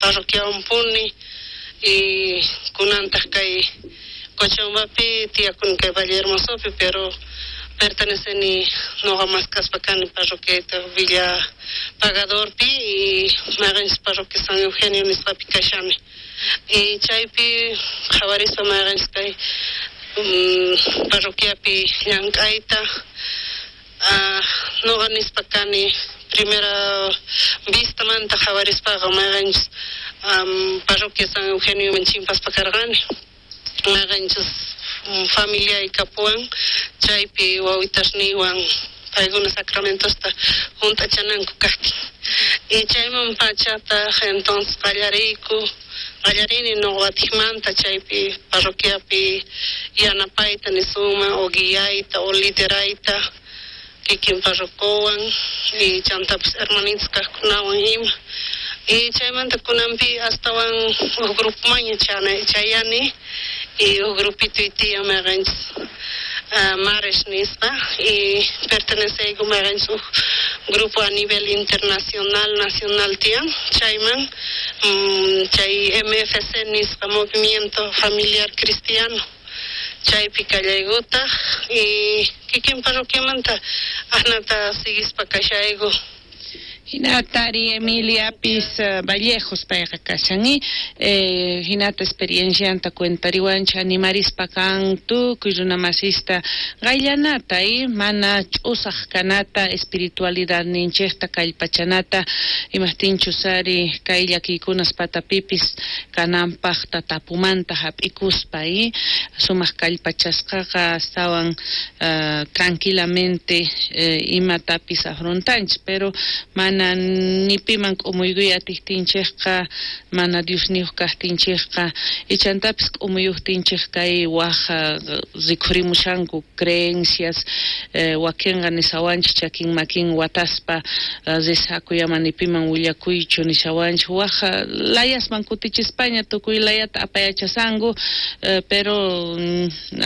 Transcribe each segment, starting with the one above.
Parroquiawanpuni y kunantaq kay Cochabambapi tiyakuni kay Valle Hermosopi, pero perteneceni noqa maskaspa kani parroquiayta Villa Pagadorpi y mayqenchus parroquia San Eugenio nisqapi kashani. Y chaypi qhawarispa mayqenchus kay parroquiapi llank'ayta, noqa nispa kani primera vistamanta qhawarispaqa mayqenchus parroquia San Eugenioman chimpaspa karqani, mayqenchus familiay kapuwan chaypi wawitasniywan paykuna sacramentosta junt'achananku kajtin. Y chayman pachataq entonces qallariyku, qallarini noqa watijmanta chaypi parroquiapi yanapayta nisunman o guiayta o liderayta kikin parrocowan y chantapis hermanitas kajkunawan ima. Y chaymanta kunanpi astawan uj grupomanña chayani y uj grupitoy tiyan mayqenchus Mares nisqa y perteneceyku mayqenchus uj grupo a nivel internacional, nacional tiyan chayman, chay MFC nisqa, Movimiento Familiar Cristiano, chaypi kallaykutaj y kikin parroquiamanta ajnata siguispa kashayku. Hinata ari Emiliapis Vallejos payqa kashan y hinata experiencianta cuentariwanchik animarispa kan tukuy runamasista qayllanata y mana ch'usaq kanata espiritualidadninchikta kallpachanata imajtinchus ari kay llakiykunas patapipis kananpaqta tapumanta hap'ikuspa y sumaq kallpachasqaqa astawan tranquilamente imatapis afrontanchik, pero mana ni piman k'umuykuy atiqtinchikqa, mana Diosniyuq kaqtinchikqa, ichantapis k'umuyuqtinchik kay waj rikhurimushanku creencias, wakinqa nishawanchik chakin makin wataspa rezakuy ama ni piman willakuychu nishawanchik, waj layasman kutichispaña tukuy layata apayachasanku, pero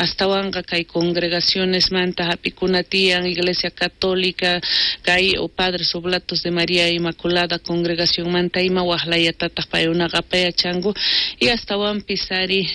astawanqa kay congregacionesmanta hap'ikuna tiyan, Iglesia Católica, kay o Padres Oblatos de María Inmaculada congregacionmanta ima waj layatataq paykunaqa apayachanku y astawanpis ari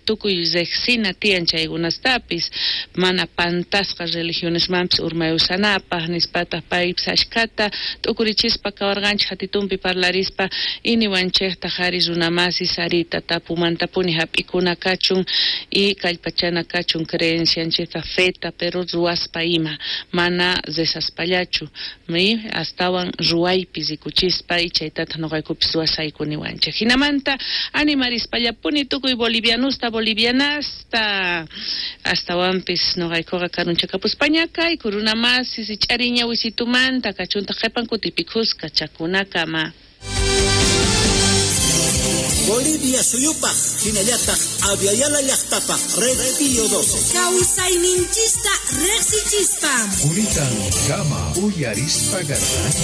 tukuy riqsina tiyan chaykunastapis mana pantasqa religionesmanpis urmayusanapaq nispataq paypis ashkhata t'ukurichispa kawarqanchik hatitunpi parlarispa iniwanchiktaq ari runamasis ari tatapumantapuni hap'ikuna kachun y kallpachana kachun creencianchikta feta pero ruwaspa ima mana rezaspallachu mi astawan ruwaypi rikuchispa y chaytataq noqaykupis ruwasayku niwanchik. Hinamanta animarispallapuni tukuy bolivianusta bolivianasta astawanpis noqaykuqa karunchakapuspaña kayku runamasis ich'ariña wisitumanta kachuntaq qhipan kutipi khuska chakunakama. Bolivia suyupaq hinallataq Abya Yala llaqtapaq Red Pío 12. Kawsayninchista riqsichispa. Kunitan kama uyarispa garqanchik.